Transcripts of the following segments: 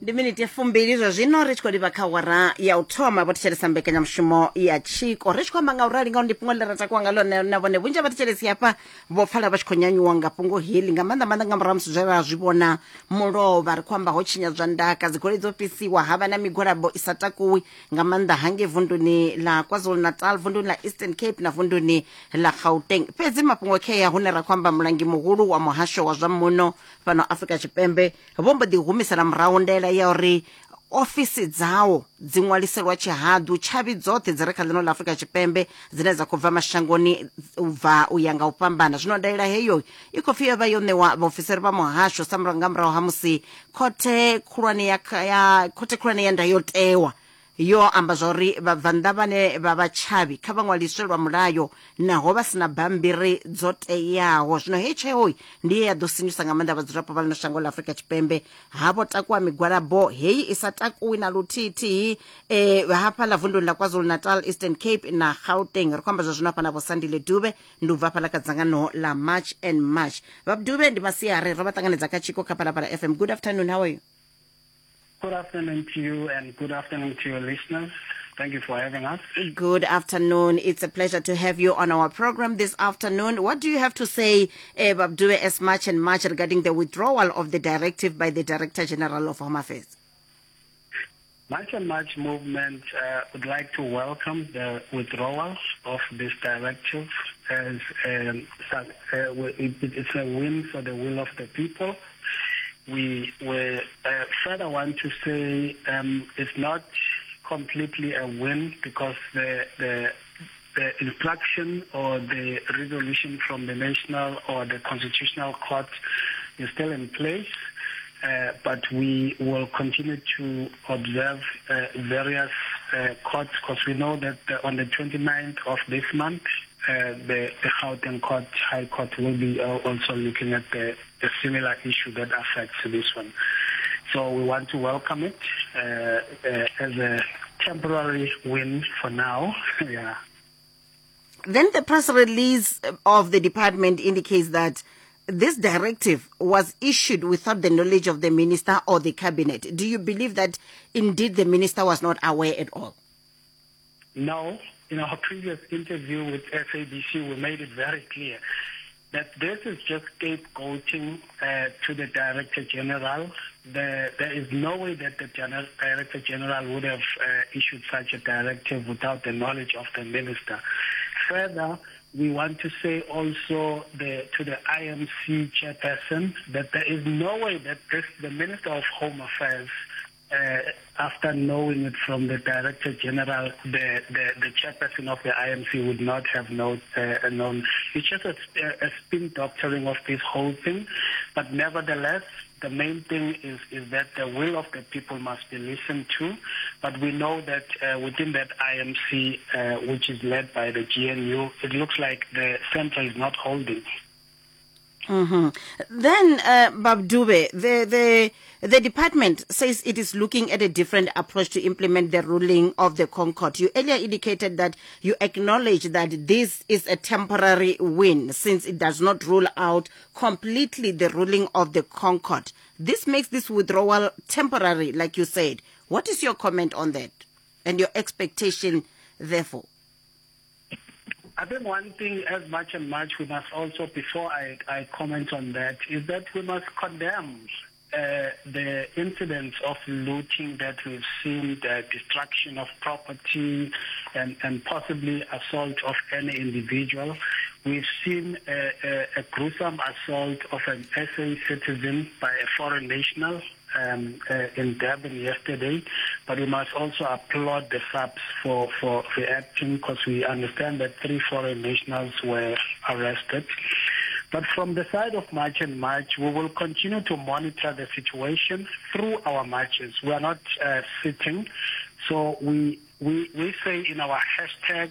Ndi miniti ya fumbili zwa zwino ri tshi khou livha kha awara ya u thoma vho thetshelesa mbekanyamushumo ya tshiko. Ri tshi khou amba nga u rali ngauri ndi fhungo ḽine ra takuwa nga ḽone na vhone vhunzhi ha vhathetshelesi hafha vho pfala vha tshi khou nyanyuwa nga fhungo heḽi nga maanḓa maanḓa nga murahu ha musi zwe ra zwi vhona mulovha. Ri khou amba ho tshinyadzwa ndaka, dzigoloi dzo fhisiwa, ha vha na migwalabo i sa takuwi nga maanḓa hangei vunduni ḽa KwaZulu-Natal, vunduni ḽa Eastern Cape na vunduni ḽa Gauteng. Fhedzi mafhungo khea hune ra khou amba mulangi muhulu wa muhasho wa zwa muno fhano Afrika Tshipembe vho mbo ḓi humisela murahu ndaela ya uri ofisi dzawo dzi ṅwaliselwa tshihaḓu tshavhi dzoṱhe dzi re kha ḽino ḽa Afrika Tshipembe dzine dza khou bva mashangoni u bva u ya nga u fhambana. Zwino ndaela heyo i khou pfi yo vha yo ṋewa vhaofisiri vha muhasho sa nga murahu ha musi khothe khulwane ya, ya khothe khulwane ya ndayotewa yo amba zwa uri vhabvannḓa vhane vha vha tshavhi kha vha ṅwaliswe lwa mulayo naho vha si na bammbiri dzo teaho. Zwino heyi tsheo ndi ye ya ḓo sinyusa nga maanḓa vhadzulapo vha ḽino shango ḽa Afrika Tshipembe. Ha vho takuwa migwalabo heyi i sa takuwi na luthihi-thihi e, hafhaḽa vunduni ḽa KwaZulu-Natal, Eastern Cape na Gauteng. Ri khou amba zwa zwino hafha na Vho Sandile Dube, ndi u bva hafhaḽa kha dzangano ḽa March and March. Vha Dube, ndi masiari, ro vha ṱanganedza kha Tshiko kha Phalaphala FM. Good afternoon, how are you? Good afternoon to you and good afternoon to your listeners. Thank you for having us. Good afternoon. It's a pleasure to have you on our program this afternoon. What do you have to say, Babdue, as much and much regarding the withdrawal of the directive by the Director General of Home Affairs? March and March movement would like to welcome the withdrawal of this directive as it's a win for the will of the people. We further want to say it's not completely a win because the, the the instruction or the resolution from the national or the constitutional court is still in place. But we will continue to observe various courts because we know that on the 29th of this month, the, the Gauteng Court, High Court will be also looking at the, the similar issue that affects this one. So we want to welcome it as a temporary win for now. Yeah. Then the press release of the department indicates that this directive was issued without the knowledge of the minister or the cabinet. Do you believe that indeed the minister was not aware at all? No. In our previous interview with SABC, we made it very clear that this is just scapegoating to the Director General. There is no way that the Director General would have issued such a directive without the knowledge of the minister. Further, we want to say also to the IMC chairperson that there is no way that the Minister of Home Affairs, after knowing it from the Director General, the chairperson of the IMC would not have known. It's just a spin doctoring of this whole thing. But nevertheless, the main thing is that the will of the people must be listened to. But we know that within that IMC, which is led by the GNU, it looks like the center is not holding. Then, Babdube, the department says it is looking at a different approach to implement the ruling of the ConCourt. You earlier indicated that you acknowledge that this is a temporary win since it does not rule out completely the ruling of the ConCourt. This makes this withdrawal temporary, like you said. What is your comment on that and your expectation, therefore? I think one thing, as much and much, we must also, before I comment on that, is that we must condemn the incidents of looting that we've seen, the destruction of property and possibly assault of any individual. We've seen a gruesome assault of an SA citizen by a foreign national in Durban yesterday, but we must also applaud the SAPS for reacting, because we understand that 3 foreign nationals were arrested. But from the side of March and March, we will continue to monitor the situation through our marches. We are not sitting. So we say in our hashtag,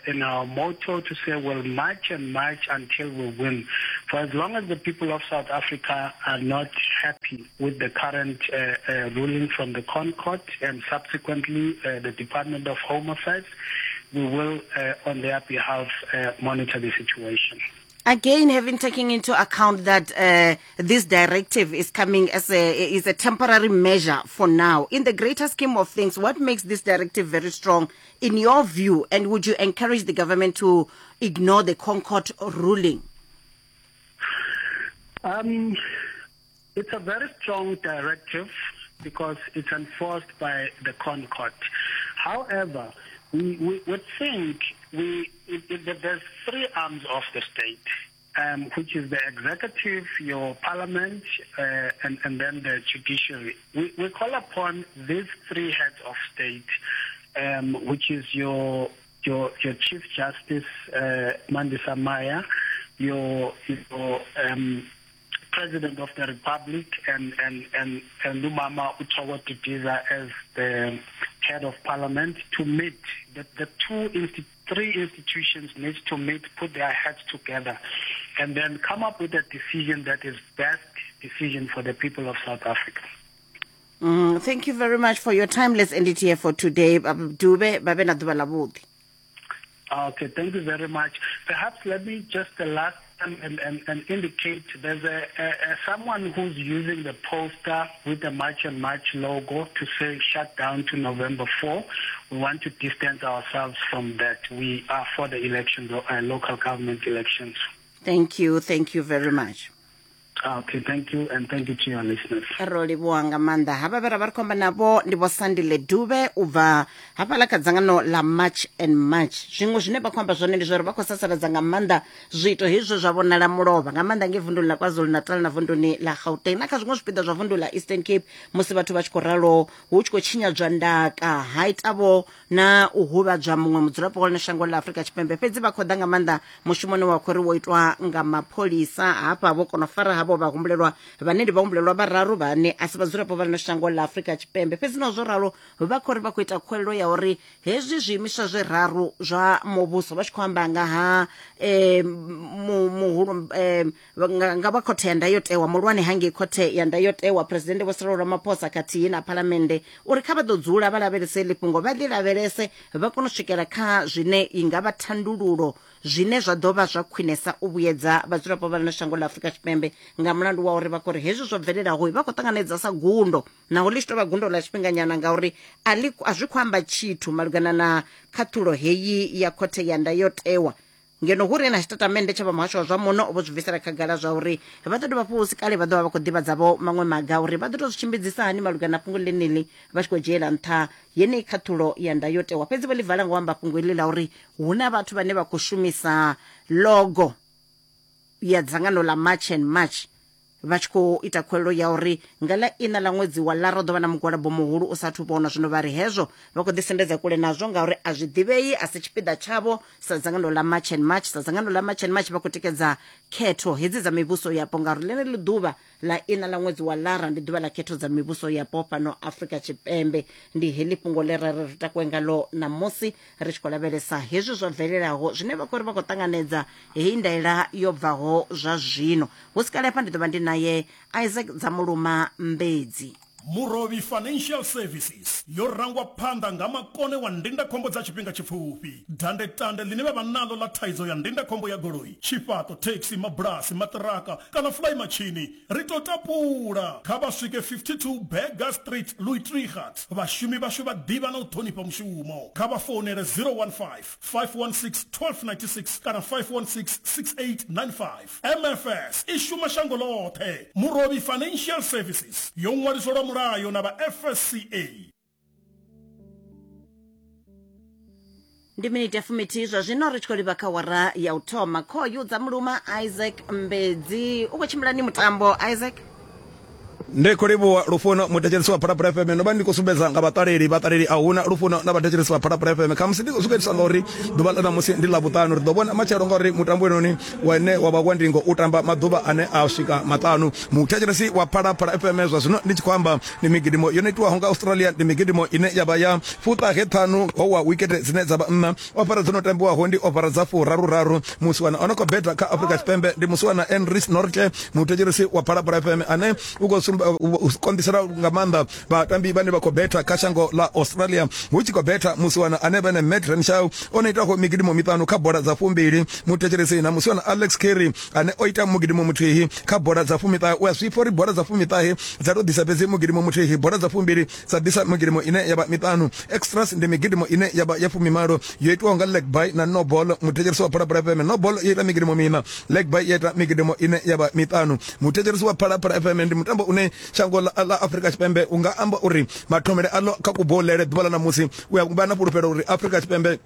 in our motto, to say we'll march and march until we win. For as long as the people of South Africa are not happy with the current ruling from the ConCourt and subsequently the Department of Home Affairs, we will, on their behalf, monitor the situation. Again, having taken into account that this directive is coming as a is a temporary measure for now, in the greater scheme of things, what makes this directive very strong in your view, and would you encourage the government to ignore the ConCourt ruling? It's a very strong directive because it's enforced by the ConCourt. However, we, we would think we, if, if there's three arms of the state, which is the executive, your parliament, and, and then the judiciary. We, we call upon these three heads of state, which is your, your, your Chief Justice, Mandisa Maya, your, your President of the Republic, and, and, and, and Lumama Uchawa Didiza as the head of parliament, to meet. The, the two institu three institutions need to meet, put their heads together, and then come up with a decision that is best decision for the people of South Africa. Thank you very much for your time. Let's end it here for today. Dube, ba be na ḓuvha ḽa vhuḓi. Okay, thank you very much. Perhaps let me just the last time and, and, and indicate there's a, a, a someone who's using the poster with the March and March logo to say shut down to November 4. We want to distance ourselves from that. We are for the elections, local government elections. Thank you. Thank you very much. Okay, thank you and thank you to your listeners. Ro livhuwa nga maanḓa. Havha vhe ra vha ri khou amba navho ndi Vho Sandile Dube u bva hafhaḽa kha dzangano ḽa March and March. Zwiṅwe zwine vha khou amba zwone ndi zwa uri vha khou sasaladza nga maanḓa zwiito hezwo zwa vhonala mulovha nga maanḓa ngei vunduni ḽa KwaZulu-Natal na vunduni ḽa Gauteng na kha zwiṅwe zwipiḓa zwa vundu ḽa Eastern Cape musi vhathu vha tshi khou ralo hu tshi khou tshinyadzwa ndaka ha itavho na u huvhadzwa muṅwe mudzulapo wa ḽino shango ḽa Afrika Tshipembe. Fhedzi vha khou ḓa nga maanḓa mushumoni wa khou ri wo itwa nga mapholisa hafha vho kona u fara havho vhahumbulelwa vhane ndi vhahumbulelwa vhararu vhane a si vhadzulapo vha ḽino shango ḽa Afrika Tshipembe. Fhedzi naho zwo ralo vha khou ri vha khou ita khuwelelo ya uri hezwi zwiimiswa zwiraru zwa muvhuso vha tshi khou amba nga ha muhulu nga vha khothe ya ndayotewa muhulwane hangei khothe ya ndayotewa Presidennde Vho Cyril Ramaphosa khathihi na phalamennde uri kha vha ḓo dzula vha lavhelese heḽi fhungo vha ḽi lavhelese vha kone u swikela kha zwine i nga vha thandululo zwine zwa ḓo vha zwa khwinesa u vhuyedza vhadzulapo vha ḽino shango ḽa Afrika Tshipembe nga mulandu wa uri vha khou ri hezwi zwo bvelelaho vha khou ṱanganedza sa gundo naho ḽi tshi tou vha gundo ḽa tshifhinganyana ngauri a ḽi a zwi khou amba tshithu malugana na khaṱhulo heyi ya khothe ya ndayotewa ngeno hu re na tshitatamennde tsha vha muhasho wa zwa muno vho zwi bvisela khagala zwa uri vha ḓo dovha fhu si kale vha ḓo vha vha khou ḓivhadza vho maṅwe maga uri vha ḓo tou zwi tshimbidzisa hani malugana na fhungo ḽeneḽi vha tshi khou dzhiela nṱha yeneyi khaṱhulo ya ndayotewa. Fhedzi vho ḽi vala nga u amba fhungo iḽi ḽa uri hu na vhathu vhane vha khou shumisa logo ya dzangano ḽa March and March vha tshi khou ita khuwelelo ya uri nga ḽa iṋa ḽa ṅwedzi wa Lara hu ḓo vha na mugwalabo muhulu u sa athu vhonwa. Zwino vha ri hezwo vha khou ḓisendedza kule nazwo ngauri a zwi ḓivhei, a si tshipiḓa tshavho sa dzangano ḽa March and March. Sa dzangano ḽa March and March vha khou tikedza khetho hedzi dza mivhuso yapo ngauri ḽeneḽi ḓuvha ḽa iṋa ḽa ṅwedzi wa Lara ndi ḓuvha ḽa khetho dza mivhuso yapo fhano Afrika Tshipembe. Ndi heḽi fhungo ḽe ra ri ri takuwe ngaḽo ṋamusi ri tshi khou lavhelesa hezwi zwo bvelelaho zwine vha khou ri vha khou ṱanganedza heyi ndaela yo bvaho zwa zwino. Hu si kale hafha ndi ḓo vha ndi naye Isaac Dzamuluma Mbedzi. Murovhi Financial Services yo rangwa phanḓa nga makone wa ndindakhombo dza tshifhinga tshipfufhi. Dandetande ḽine vha vha naḽo ḽa thaidzo ya ndindakhombo ya goloi, tshifhaṱo, thekhisi, mabulasi, maṱiraka kana fulaimatshini ri tou tapula. Kha vha swike 52 Burger Street, Louis Trichardt. Vhashumi vhashu vha ḓivha na u ṱhonifha mushumo. Kha vha founele 015 516 1296 kana 516 6895. MFS i shuma shango ḽoṱhe. Murovhi Financial Services yo ṅwaliswa lwa mulayo na vha FSCA. Ndi miniti ya fumithihi zwa zwino ri tshi khou livha kha wara ya u thoma. Khoyu dza muluma Isaac Mbedzi u khou tshimbila ni mutambo Isaac. Ndi khou livhuwa Lufuno, muthetshelesi wa Phalaphala FM. Ndo vha ndi khou sumbedza nga vhaṱaleli, vhaṱaleli a huna Lufuno na vhathetshelesi vha Phalaphala FM. Khamusi ndi khou sumbedzisa nga uri ḓuvha ḽa ṋamusi ndi Ḽavhuṱanu, ri ḓo vhona matshelo ngauri mutambo wenoni wane wa vha wa ndingo u tamba maḓuvha ane a swika maṱanu. Muthetshelesi wa Phalaphala FM, zwa zwino ndi tshi khou amba ndi migidimo yo no itiwaho nga Australia, ndi migidimo ine ya vha ya fuṱahe ṱhanu ho wa wikete dzine dza vha nṋa. Ofara dzo no tambiwaho ndi ofara dza furaru-raru. Musiwana o no khou beta kha Afrika Tshipembe ndi musiwana Enris Nortje, muthetshelesi wa Phalaphala FM ane u khou sumbedza u konḓisela nga maanḓa vhatambi vhane vha khou betha kha shango ḽa Australia. Hu tshi khou betha musiwana ane vha ne Matt Renshaw o no itaho migidimo miṱanu kha bola dza fumbili, muthetshelesi na musiwana Alex Carey ane o ita mugidimo muthihi kha bola dza fumiṱahe. U a zwi pfa uri bola dza fumiṱahe dza tou ḓisa fhedzi mugidimo muthihi, bola dza fumbili dza ḓisa migidimo ine ya vha miṱanu. Extras ndi migidimo ine ya vha ya fumimalo yo itwaho nga leg bye na no ball. Muthetshelesi wa Phalaphala FM, no ball yo ita migidimo miṋa, leg bye ya ita migidimo ine ya vha miṱanu. Muthetshelesi wa Phalaphala FM, ndi mutambo une shango ḽa, ḽa Afrika Tshipembe u nga amba uri mathomele aḽo kha kubolele ḓuvha ḽa ṋamusi u ya vha na fhulufhelo uri Afrika Tshipembe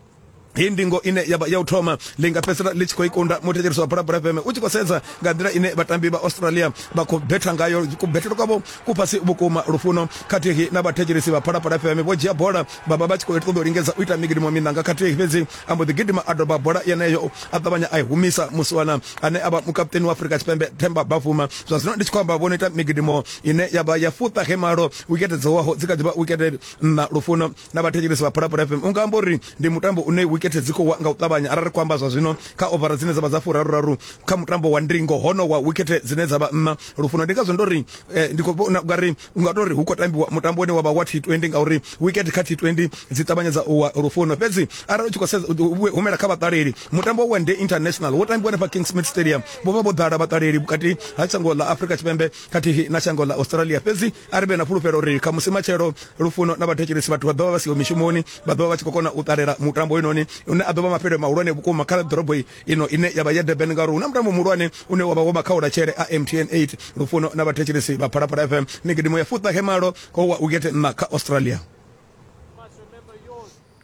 heyi ndingo ine ya vha ya u thoma ḽi nga fhedzisela ḽi tshi khou i kunda. Muthetshelesi wa Phalaphala FM, u tshi khou sedza nga nḓila ine vhatambi vha Australia vha khou betha ngayo, kubethele kwavho ku fhasi vhukuma. Lufuno khathihi na vhathetshelesi vha Phalaphala FM vho dzhia bola vha vha vha tshi khou ṱoḓa u lingedza u ita migidimo miṋa nga khathihi, fhedzi a mbo ḓi gidima a doba bola yeneyo a ṱavhanya a i humisa musiwana ane a vha mukaputeni wa Afrika Tshipembe Themba Bavuma. Zwa zwino ndi tshi khou amba vho no ita migidimo ine ya vha ya fuṱahe malo, wikete dzo waho dzi kha ḓi vha wikete nṋa. Lufuno na vhathetshelesi vha Phalaphala FM, u nga amba uri ndi mutambo une wikete dzi khou wa nga u ṱavhanya arali ri khou amba zwa zwino kha ovara dzine dza vha dza furaruraru kha mutambo wa ndingo hono wa wikete dzine dza vha nṋa. Lufuno, ndi ngazwo ndo ri eh, ndi khou vhona ungari u nga tou ri hu khou tambiwa mutambo une wa vha wa T20 ngauri wikete kha T20 dzi ṱavhanyedza u wa. Lufuno, fhedzi arali u tshi khou sedza humela kha vhaṱaleli, mutambo wa One Day International wo tambiwa hanefha Kingsmead Stadium, vho vha vho ḓala vhaṱaleli vhukati ha shango ḽa Afrika Tshipembe khathihi na shango ḽa Australia. Fhedzi a ri vhe na fhulufhelo uri khamusi matshelo, Lufuno na vhathetshelesi, vhathu vha ḓo vha vha siho mishumoni, vha ḓo vha vha tshi khou kona u ṱalela mutambo hoyunoni une a ḓo vha mafhelo mahulwane vhukuma kha ḓorobo ino ine ya vha ya Durban, ngauri hu na mutambo muhulwane une wa vha wa makhaulatshele a MTN 8. Lufuno na vhathetshelesi vha Phalaphala FM, migidimo ya fuṱahe malo khou wa wikete nṋa kha Australia.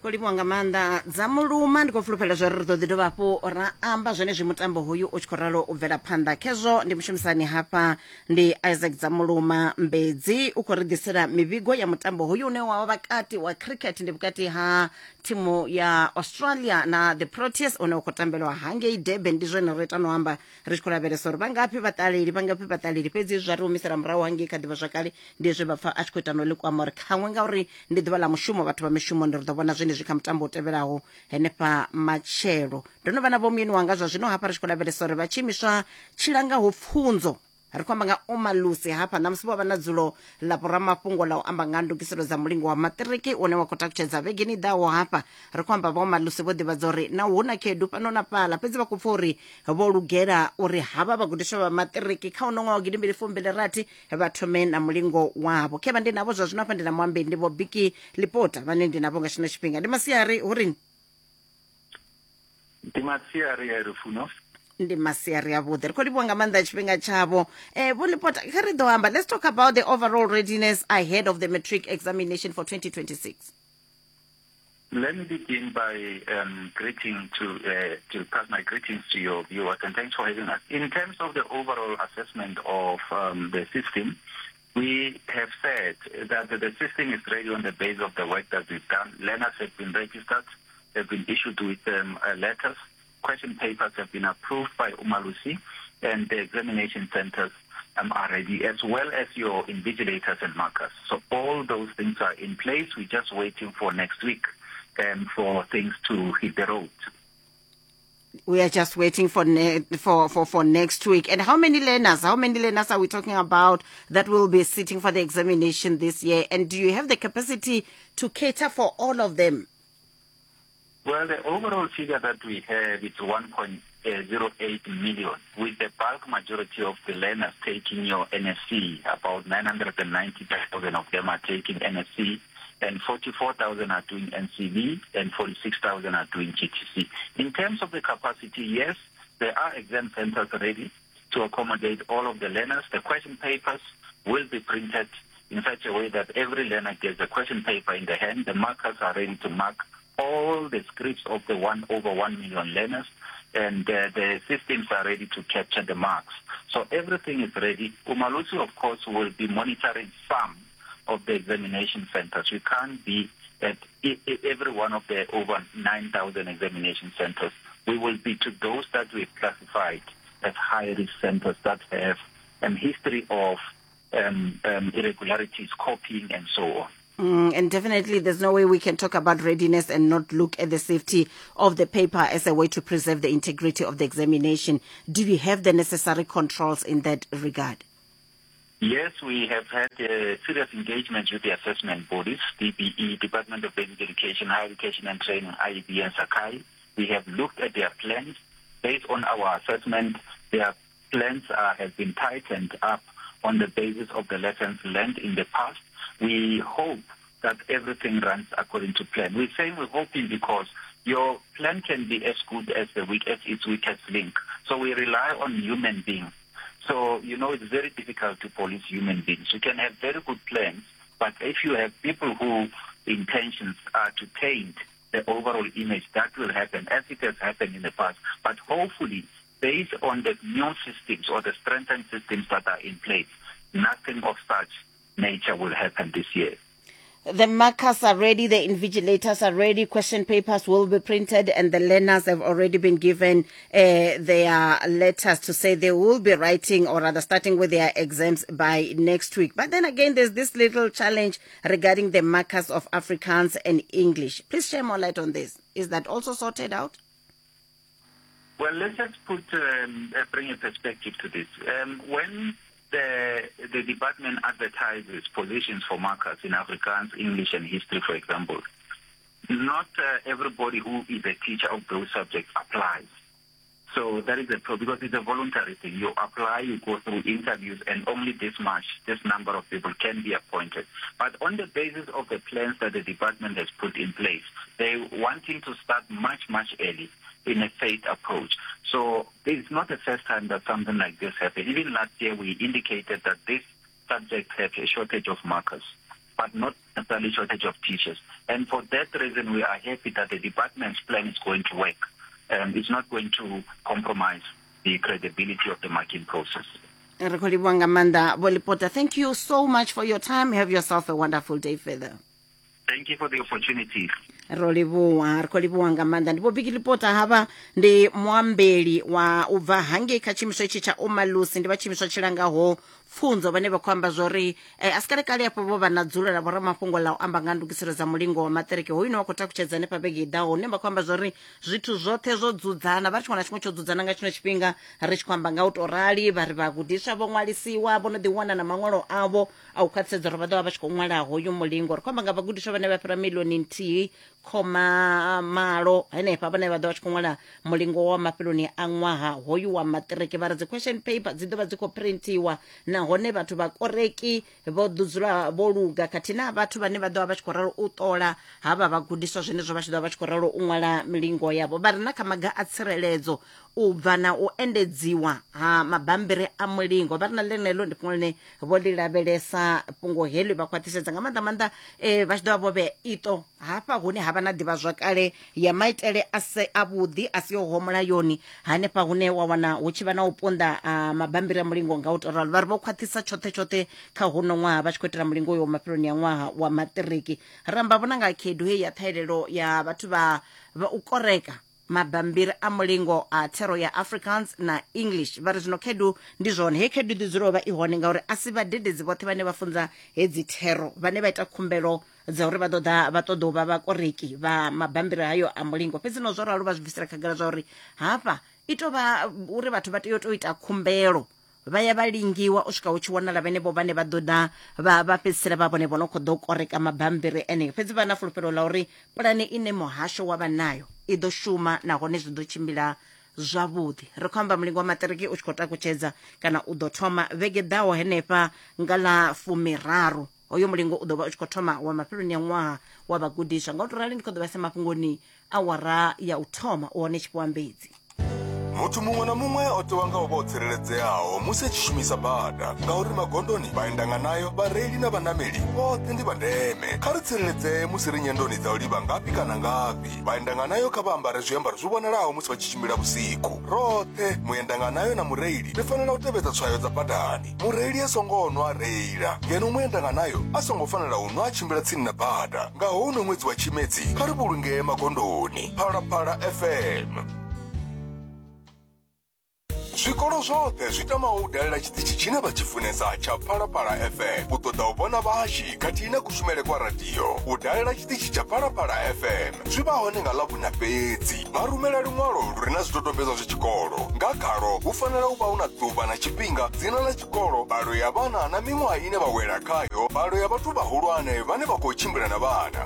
Khou livhuwa nga maanḓa dza muluma. Ndi khou fulufhela zwa uri ri ḓo ḓi dovha hafhu ra amba zwenezwi mutambo hoyu u tshi khou ralo u bvela phanḓa. Khezwo ndi mushumisani hafha ndi Isaac dza muluma Mbedzi, u khou ri ḓisela mivhigo ya mutambo hoyu une wa vha vhakati wa cricket, ndi vhukati ha thimu ya Australia na the Proteas une u khou tambelwa hangei Durban. Ndi zwone ro ita no amba ri tshi khou lavhelesa uri vhangafhi vhaṱaleli, vhangafhi vhaṱaleli, fhedzi zwa ri humisela murahu hangei kha ḓivhazwakale. Ndi zwe vha pfa a tshi khou ita no ḽi kwama uri khaṅwe ngauri ndi ḓuvha ḽa mushumo, vhathu vha mishumoni, ri ḓo vhona zwenezwi kha mutambo u tevhelaho henefha matshelo. Ndo no vha na vhomuyeni wanga zwa zwino hafha ri tshi khou lavhelesa uri vha tshiimiswa tshi langaho pfunzo, ri khou amba nga Omalusi hafha ṋamusi, vho vha na dzulo ḽa vhoramafhungo ḽa u amba nga ndugiselo dza mulingo wa maṱiriki une wa khou takutshedza vhegeni i ḓaho. Hafha ri khou amba vha Omalusi vho ḓivhadza uri na hu na khaedu fhano na fhaḽa, fhedzi vha khou pfa uri vho lugela uri havha vhagudiswa vha maṱiriki kha uno ṅwaha wa gidimbili fumbili rathi vha thome na mulingo wavho. Khevha ndi navho zwa zwino hafha, ndi na muambeli, ndi Vho Biki Lipota vhane ndi navho nga tshino tshifhinga. Ndi masiari hurini? Ndi masiari ya Lufuno. Ndi masiari avhuḓi, ri khou livhuwa nga maanḓa tshifhinga tshavho. Vho Lipota, kha ri ḓo amba, let's talk about the overall readiness ahead of the matric examination for 2026. Let me begin by greeting to pass my greetings to your viewers, and thanks for having us. In terms of the overall assessment of the system, we have said that the system is ready on the basis of the work that we've done. Learners have been registered, they've been issued with letters, question papers have been approved by Umalusi, and the examination centers are ready, as well as your invigilators and markers. So all those things are in place. We're just waiting for next week for things to hit the road. We are just waiting for for next week. And how many learners? How many learners are we talking about that will be sitting for the examination this year? And do you have the capacity to cater for all of them? Well, the overall figure that we have is 1.08 million, with the bulk majority of the learners taking your NSC. About 990,000 of them are taking NSC, and 44,000 are doing NCV, and 46,000 are doing GTC. In terms of the capacity, yes, there are exam centers ready to accommodate all of the learners. The question papers will be printed in such a way that every learner gets a question paper in the hand. The markers are ready to mark all the scripts of the over 1 million learners, and the systems are ready to capture the marks. So everything is ready. Umalusi, of course, will be monitoring some of the examination centers. We can't be at every one of the over 9,000 examination centers. We will be to those that we've classified as high-risk centers that have a history of irregularities, copying, and so on. And definitely there's no way we can talk about readiness and not look at the safety of the paper as a way to preserve the integrity of the examination. Do you have the necessary controls in that regard? Yes, we have had serious engagement with the assessment bodies, DBE, Department of Basic Education, Higher Education and Training, IEB and Sakai. We have looked at their plans. Based on our assessment, their plans have been tightened up on the basis of the lessons learned in the past. We hope that everything runs according to plan. We're saying we're hoping because your plan can be as good as the weak as its weakest link. So we rely on human beings. So, you know, it's very difficult to police human beings. You can have very good plans, but if you have people whose intentions are to taint the overall image, that will happen, as it has happened in the past. But hopefully, based on the new systems or the strengthened systems that are in place, nothing of such nature will happen this year. The markers are ready, the invigilators are ready, question papers will be printed, and the learners have already been given their letters to say they will be writing, or rather starting with their exams by next week. But then again, there's this little challenge regarding the markers of Afrikaans and English. Please share more light on this. Is that also sorted out? Well, let's just bring a perspective to this. When the department advertises positions for markers in Afrikaans, English and history, for example, not everybody who is a teacher of those subjects applies. So that is a problem, because it's a voluntary thing. You apply, you go through interviews, and only this number of people can be appointed. But on the basis of the plans that the department has put in place, they're wanting to start much, much early in a phased approach. So it's not the first time that something like this happened. Even last year, we indicated that this subject had a shortage of markers, but not necessarily shortage of teachers. And for that reason, we are happy that the department's plan is going to work. It's not going to compromise the credibility of the marking process. Re khou livhuwa nga maanḓa, Vho Lipota. Thank you so much for your time. Have yourself a wonderful day further. Thank you for the opportunity. Ro livhuwa, ri khou livhuwa nga maanḓa. Ndi Vho Biki Lipota, havha ndi muambeli wa u bva hangei kha tshiimiswa itshi tsha Umalusi, ndi vha tshiimiswa tshi langaho pfunzo, vhane vha khou amba zwori a si kale kale afho vho vha na dzulo la vhoramafhungo la u amba nga ndugiselo dza mulingo wa maṱiriki hoyu wa khou takutshedza hanefha vhege i ḓaho, hune vha khou amba zwori zwithu zwoṱhe zwo dzudzana, vha ri tshiṅwe na tshiṅwe tsho dzudzana nga tshino tshifhinga ri tshi khou amba nga u tou rali. Vha ri vhagudiswa vho ṅwalisiwa, vho no ḓi wana na maṅwalo avho a u khwaṱhisedza uri vha ḓo vha vha tshi khou ṅwala hoyu mulingo. Ri khou amba nga vhagudiswa vhane vha fhira 1.8 million henefha, vhane vha ḓo vha tshi khou ṅwala mulingo wa mafheloni a ṅwaha hoyu wa maṱiriki. Vha ri dzi question paper dzi ḓo vha dzi khou printiwa, nahone vhathu vha koreki vho ḓo dzula vho luga, khathihi na vhathu vhane vha ḓo vha vha tshi khou ralo u ṱola havha vhagudiswa zwenezwo vha tshi ḓo vha vha tshi khou ralo u ṅwala milingo yavho. Vha ri na kha maga a tsireledzo u bva na u endedziwa ha mabambiri a mulingo, vha ri na ḽeneḽo ndi fhungo ḽine vho ḽi lavhelesa, fhungo heḽi vha khwaṱhisedza nga maanḓa maanḓa vha tshi ḓo vha vho vhea iṱo hafha hune ha vha na ḓivhazwakale ya maitele a se avhuḓi a si yoho mulayoni, hanefha hune wa wana hu tshi vha na u punḓa mabambiri a mulingo nga u tou ralo. Vha ri vho khwaṱhisa tshoṱhe tshoṱhe kha huno ṅwaha vha tshi khou itela mulingo uyo wa mafheloni a ṅwaha wa maṱiriki. Ramba vhona nga khaedu heyi ya ṱhahelelo ya vhathu vha u koreka mabambiri a mulingo a thero ya Afrikaans na English. Vha ri zwino khaedu ndi zwone, hei khaedu ḓi dzula u vha i hone ngauri a si vhadededzi vhoṱhe vhane vha funza hedzi thero vhane vha ita khumbelo dza uri vha ḓo ḓa vha ṱoḓa u vha vhakoreki vha mabambiri hayo a mulingo. Fhedzi no zwo ralo vha zwi bvisela khagala zwa uri hafha i tou vha uri vhathu vha tea u tou ita khumbelo, vha ya vha lingiwa u swika hu tshi wanala vhenevho vhane vha ḓo ḓa vha fhedzisela vha vhone vho no khou ḓo koreka mabambiri eneo. Fhedzi vha na fulufhelo ḽa uri pulane ine muhasho wa vha nayo i ḓo shuma nahone zwi ḓo tshimbila zwavhuḓi. Ri khou amba mulingo wa maṱiriki u tshi khou takutshedza kana u ḓo thoma vhege ḓaho henefha nga ḽa 30. Hoyo mulingo u ḓo vha u tshi khou thoma wa mafheloni a ṅwaha wa vhagudiswa. Nga u tou rali ndi khou ḓo vhaisa mafhungoni awara ya u thoma u hone tshifhiwa mbedzi. Muthu muṅwe na muṅwe o tewa nga u vha o tsireledzeaho musi a tshi shumisa bada, ngauri magondoni, vhaendanganayo, vhareili na vhanameli vhoṱhe ndi vha ndeme. Kha ri tsireledzee musi ri nyendoni dza u livha ngafhi kana ngafhi. Vhaendanganayo kha vha ambare zwiambaro zwi vhonalaho musi vha tshi tshimbila vhusiku. Roṱhe, muendanganayo na mureili, ri fanela u tevhedza tswayo dza badani. Mureili a songo nwa a reila, ngeno muendanganayo a songo fanela u nwa a tshimbila tsini na bada. Nga houno ṅwedzi wa Tshimedzi, kha ri vhulungee magondoni. Phalaphala FM. Zwikolo zwoṱhe zwi tamaho u dalela tshiṱitshi tshine vha tshi funesa tsha Phalaphala FM u ṱoḓa u vhona vhahashi khathihi na kushumele kwa radio. U dalela tshiṱitshi tsha Phalaphala FM zwi vha hone nga Ḽavhuṋa fhedzi. Vha rumela luṅwalo lu re na zwidodombedzwa zwa tshikolo. Nga khalwo hu fanela u vha hu na ḓuvha na tshifhinga, dzina ḽa tshikolo, mbalo ya vhana na miṅwaha ine vha wela khayo, mbalo ya vhathu vhahulwane vhane vha khou tshimbila na vhana.